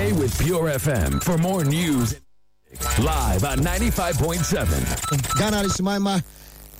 Stay with Pure FM for more news live on 95.7. Ghana Adehyeman ma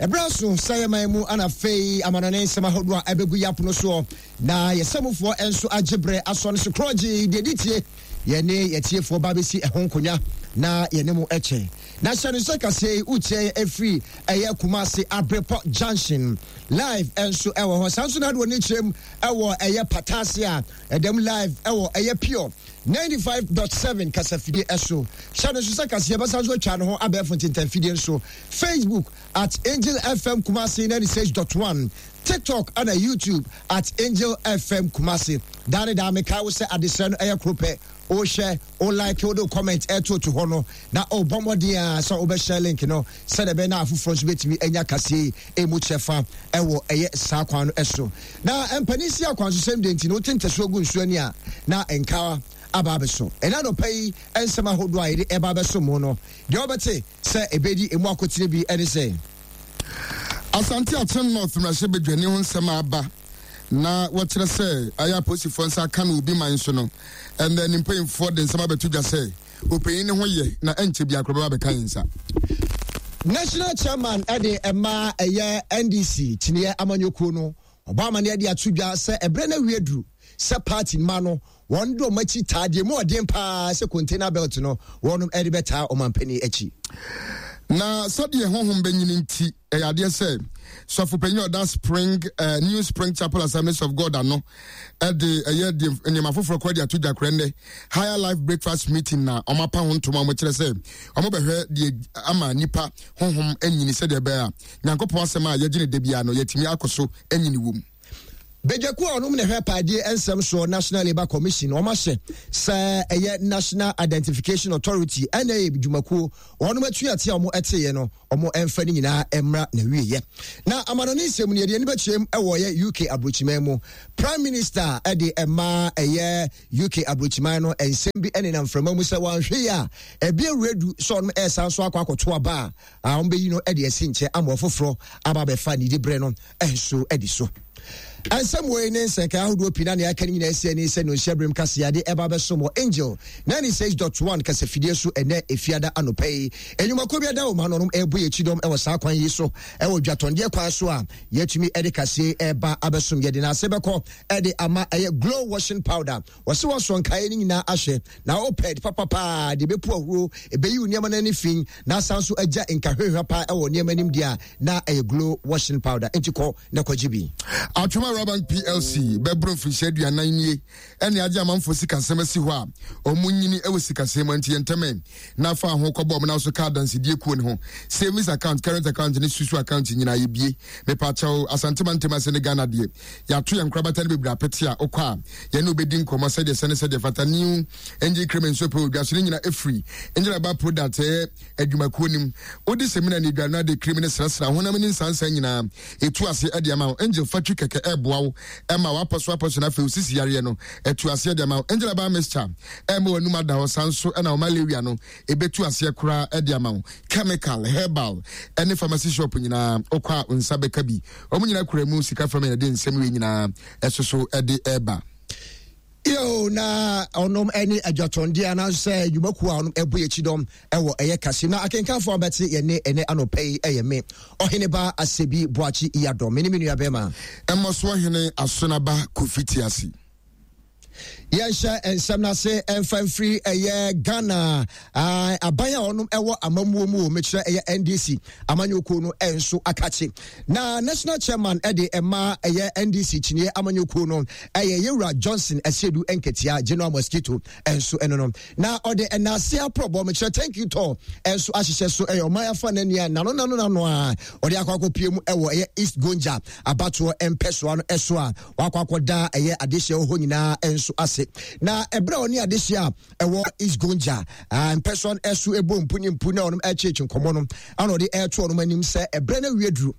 ɛberɛ aso sɛ yɛman mu ana afei amanɔne nsɛm ahodoɔ a ɛbɛgu yɛ apono soɔ na yɛsɛmufoɔ nso agye berɛ asɔ no so korɔgye deɛ di tie yɛne yɛtiefoɔ ba bɛsi ɛho nkonnwa na yɛne mo kyɛ na hyɛ no sɛ kaseɛ yi wotie yɛ ɛfiri ɛyɛ Kumasi Abrepɔ Junction live nso ɛwɔ hɔ saa nso na adoɔ ne kyerɛm ɛwɔ ɛyɛ Patase a ɛdɛm live ɛwɔ ɛyɛ Pure 95.7 kasafidie ɛso hyɛ no nso sɛ kaseɛ bɛsa nso atwa ne ho abɛɛfo ntentanfidie nso Facebook at Angel FM Kumasi 96.1 TikTok ɛna YouTube at Angel FM Kumasi daa ne daa mekae wo sɛ adesrɛ no ɛyɛ koro pɛ wohwɛ wo like wode wo comment ɛtoto hɔ no na ɔbɔ mmɔden a sɛ wobɛhyɛ link no sɛdeɛ ɛbɛyɛ na afoforɔ nso bɛtumi anya kaseɛ yi ɛmu kyɛfa ɛwɔ ɛyɛ saa kwan no ɛso na mpanin si akwansosɛm deɛ nti no wote ntasuo gu nsuo ani a na nkawa aba abɛso ɛna anɔpa yi nsɛm ahodoɔ a yɛde ɛba abɛso mu no deɛ wobɛte sɛ ɛbɛdi ɛmu akotene bi ɛne sɛ Asante Akyem North mmarahyɛbadwani ho nsɛm a aba na wɔkyerɛ sɛ ayɛ apolisifoɔ nsa aka no obi man so no, ɛnnɛ ne mpanyinfoɔ de nsɛm abɛto dwa sɛ ɔpanyin no ho yɛ na ɛnkyɛ biara koraa bɛba abɛka yɛn nsa. National Chairman de ɛma ɛyɛ NDC kyiniiɛ amanyɔkuo no, ɔbɔ amaneɛ de ato dwa sɛ ɛberɛ no awie duru sɛ party mma no wɔn de wɔn akyi taa deɛ mu ɔden paa sɛ container belt no wɔn de bɛtaa ɔmampanin akyi. Na sɛdeɛ honhom bɛnyini nti, ɛyɛ adeɛ sɛ sɔfo panyin a ɔda Spring uh, New Spring Chapel Assemblies of God ano ɛde ɛyɛ deɛ nneɛma foforɔ kora de ato dwa korɛ nnɛ Higher Life Breakfast Meeting na wɔn apa ho ntoma wɔn kyerɛ sɛ wɔn bɛhwɛ deɛ ama nipa honhom anyini sɛdeɛ ɛbɛyɛ a Nyankopɔn asɛm a yɛgye ne da biara no yɛtumi akɔ so anyini wɔ mu. Badwakuo a ɔnom na ɛhwɛ paadie nsɛm soɔ National Labour Commission wɔn ahyɛ sɛ ɛyɛ National Identification Authority NIA dwumakuo wɔnom atuate a wɔn ɛteeɛ no wɔn ɛmfa ne nyinaa ɛmmra na wieɛ. Na amanɔne nsɛm no yɛde ani bɛkyerɛm ɛwɔ yɛ UK aburokyiman mu. Prime Minister ɛde ɛma ɛyɛ UK aburokyiman no nsɛm bi ɛnenam mframa mu sɛ wɔanhwɛ yi a ɛbi awuradu sɛ ɔnom ɛresan so akɔ akɔto aba a wɔn bɛyi no ɛde asi nkyɛn ama ɔfoforɔ aba abɛfa ne diberɛ no nso adi so. Nsɛm wei ne nsɛnkae ahodoɔ pii na nea aka no nyinaa asi ani sɛ nonhyɛ berem kaseɛ ɛba bɛsom wɔ Angel 96.1 kasafidie so ɛnɛ efiada anɔpa yi. Enyumakuo bi ada wɔn ano nom ɛrebɔ yɛn kyidɔm ɛwɔ saa kwan yi so ɛwɔ dwatɔndeɛ kwan so a yɛatumi ɛde kaseɛ ɛreba abɛsom. Yɛde n'ase bɛkɔ ɛde ama ɛyɛ glow washing powder. Wɔse wɔasɔ nkaeɛ no nyinaa ahwɛ na wopɛ papapaa deɛ ɛbɛpu ahuro, ɛbɛyi wo nneɛma no ani fi na asan so agya nkahwehwa paa ɛwɔ nneɛma anim deɛ a na ɛyɛ glow washing powder. Nti kɔ na kɔgye bi. Atwom Awura Bank PLC bɛboro mfirihyia 40 nie ɛne agye amanfoɔ sikasɛm asi hɔ a wɔn nyini wɔ sikasɛm mu nti yɛntɛmɛ na fa ho kɔbɔ wɔn so ka adansedie kuo ne ho savings account, current account ne susu account nyinaa yɛbie. Mepakyɛw Asante mantam ase ne Ghana deɛ yɛato yɛn nkorabata no bebree apete a wokɔ a yɛne wobɛdi nkɔmmɔ sɛdeɛ sɛ ne sɛdeɛ fata. New Angel Cream nso pɛ odwa so ne nyina ɛfiri Angel Herbal Product ɛyɛ adwumakuo nim. Wode semina ne aduane ade cream ne srasra honam ne nsansa nyinaa ɛtu ase ɛde ama wo. Angel fatwi kɛkɛ ɛboa wo ɛma wapɔso apɔso no afei osisi yareɛ no ɛtu aseɛ de ama wo. Angel Herbal Mixture ɛma w'anum ada hɔ saa nso ɛna wo malaria no ɛbɛtu aseɛ koraa ɛde ama wo. Chemical, herbal ɛne pharmacy shop nyinaa wokɔ a nsa bɛka bi. Wɔn nyinaa kura mu sika fam yɛde nsɛm wei nyinaa ɛso so ɛde ɛba. Yo, na ɔnom ɛne adwatɔndeɛ anaasɛ nnwumakuo a ɔnom ɛbɔ yɛkyi dɔm ɛwɔ ɛyɛ kase na akenkanfoɔ a bɛte yɛne ɛnɛ anɔpa yi ɛyɛ me ɔheneba Asebi Boakye Iyadɔ me ne me nua bɛrima Ɛmmɔso ɔhene Asonaba Kofi Tiasi. Yɛnhyɛ nsɛm no ase ɛmfa mfiri ɛyɛ Ghana aban a ɔnom ɛwɔ amammuo mu o mekyerɛ ɛyɛ NDC amanyɔkuo no ɛnso akakye na national chairman ɛde ɛma ɛyɛ NDC kyiniɛ amanyɔkuo no ɛyɛ yɛwura Johnson Asiedu Nketia General Mosquito ɛnso ɛno no na ɔde ɛnaase aprɔbɔ mekyerɛ thank you tour ɛnso ahyehyɛ so ɛyɛ ɔman afa n'ani a nano nano nano a ɔde akɔ akɔpie mu ɛwɔ ɛyɛ East Gonja abatoɔ mpɛsoa no ɛso a wakɔ akɔda ɛyɛ adehyeɛ wɔ hɔ nyinaa nso ase na ɛberɛ a ɔne adehyeɛ a ɛwɔ East Gonja mpɛsoa no ɛso ɛbɔ mpu ne mpu na ɔnom ɛkyeekye nkɔmmɔ no ana ɔde ɛreto ɔnom anim sɛ ɛberɛ no awie duru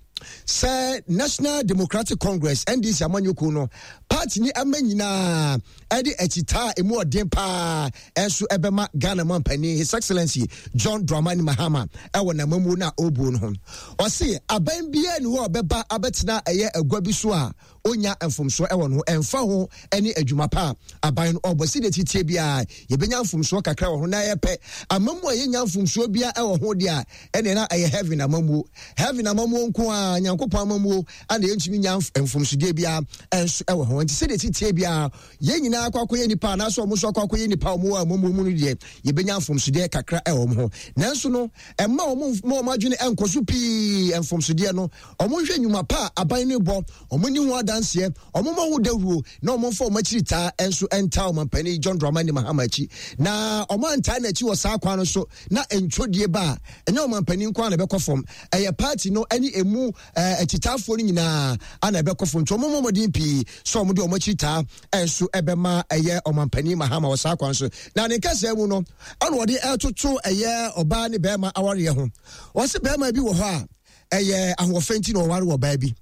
sɛ National Democratic Congress NDC amanyɔkuo no party ni ama nyinaa ɛde akyitaa a emu ɔden paa ɛnso ɛbɛma Ghana mampanin His Excellency John Dramani Mahama ɛwɔ n'amamuo no a ɔrebuo no ho. Ɔse aban biara ni hɔ a ɔbɛba abɛtena ɛyɛ agua bi so a. ɔnnya mfomsoɔ wɔ ne ho ɛmfa ho ne adwuma pa a aban no ɔbɔ. Sɛdeɛ ɛteteɛ biara yɛbɛnya mfomsoɔ kakra wɔ ho na yɛpɛ amammuo a yɛnnya mfomsoɔ biara wɔ ho deɛ a, ɛneɛ na ɛyɛ heaven amammuo. Heaven amammuo nko ara, Nyankopɔn amammuo ana yɛntumi nya mfomsodeɛ biara nso wɔ ho. Nti sɛdeɛ ɛteteɛ biara yɛn nyinaa akɔ akɔyɛ nipa anaasɛ wɔn nso akɔ akɔyɛ nipa a wɔn wɔ amammuo mu no deɛ, yɛbɛnya mfomsodeɛ kakra wɔ wɔn ho. Nanso no, ɛmma wɔn mma wɔn adwene nkɔ so pii mfomsodeɛ no. Wɔnhwɛ nnwuma pa a aban no rebɔ, wɔnni ho adanseɛ, wɔmmɔ ho dawuro, na wɔmfa wɔn akyiri taa nso ntaa Ɔmampanin John Dramani Mahama akyi. Na wɔantaa n'akyi wɔ saa kwan no so na ntwodie ba a, ɛnyɛ ɔmampanin nko ara na ɛbɛkɔ fam, ɛyɛ party no ne ɛmu akyitaafoɔ no nyinaa ana ɛbɛkɔ fam. Nti wɔmmɔ mmɔden pii sɛ wɔde wɔn akyiri taa nso ɛbɛma ɛyɛ ɔmampanin Mahama wɔ saa kwan so. Na ne nkɛsɛɛ mu no, ɛna wɔde ɛtoto ɛyɛ ɔbaa ne bɛrima awareɛ ho. Wɔse bɛrima bi wɔ hɔ a, ɛyɛ ahoɔfɛ nti na ɔware ɔbaa bi.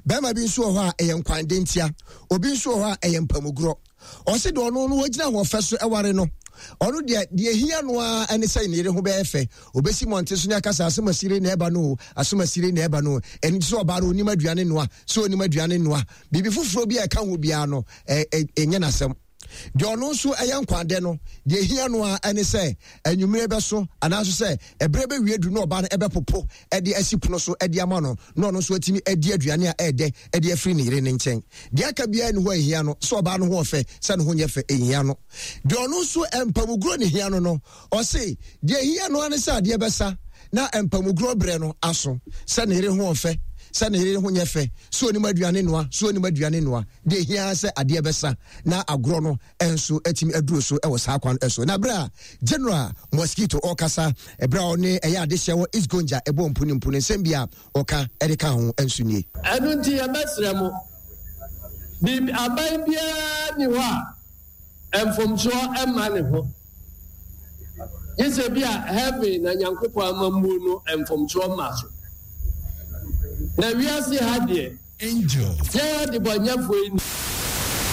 Bɛrima bi nso wɔ hɔ a ɛyɛ nkwande ntia. Obi nso wɔ hɔ a ɛyɛ mpamugorɔ. Ɔse deɛ ɔno no ɔgyina ahoɔfɛ so ɛware no, ɔno deɛ deɛ ehia no ara ɛne sɛ ne yere ho bɛyɛ fɛ. Obesi mmɔnten so ne aka sɛ asomasire na ɛba no o, asomasire na ɛba no o. Ɛno nti sɛ ɔbaa no onim aduane noa, sɛ onim aduane noa. Biribi foforɔ bi a ɛka ho biara no, ɛnyɛ n'asɛm. Deɛ ɔno nso ɛyɛ nkwadɛ no, deɛ ɛhia no ara ne sɛ anwummerɛ bɛso anaaso sɛ ɛberɛ bɛwie duru na ɔbaa no ɛbɛpopo de asi pono so de ama no na ɔno nso atumi adi aduane a ɛɛdɛ de afiri ne yere no nkyɛn. Deɛ aka biara nni hɔ a ɛhia no, sɛ ɔbaa no ho ɔfɛ, sɛ ne ho nyɛ fɛ, ɛnhia no. Deɛ ɔno nso mpamuguro ne hia no no, ɔse deɛ ɛhia no ara ne sɛ adeɛ bɛsa na mpamuguro berɛ no aso, sɛ ne yere ho ɔfɛ, sɛ ne yere ho nyɛ fɛ, sɛ ɔnim aduane noa, sɛ ɔnim aduane noa, deɛ ɛhia ara sɛ adeɛ bɛsa na agorɔ no nso atumi aduru so wɔ saa kwan so. Na berɛ a General Mosquito ɔrekasa, berɛ a ɔne ɛyɛ adehyɛ wɔ East Gonja ɛbɔ mpu ne mpu no, nsɛm bi a ɔka de ka ho nso nie. Ɛno nti yɛbɛsrɛ mo, biribi, aban biara nni hɔ a mfomsoɔ mma ne ho, gye sɛ bi a heaven na Nyankopɔn amammuo no mfomsoɔ mma so. Na wiase ha deɛ, Angel. Yɛn adebɔnyɛfoɔ yi.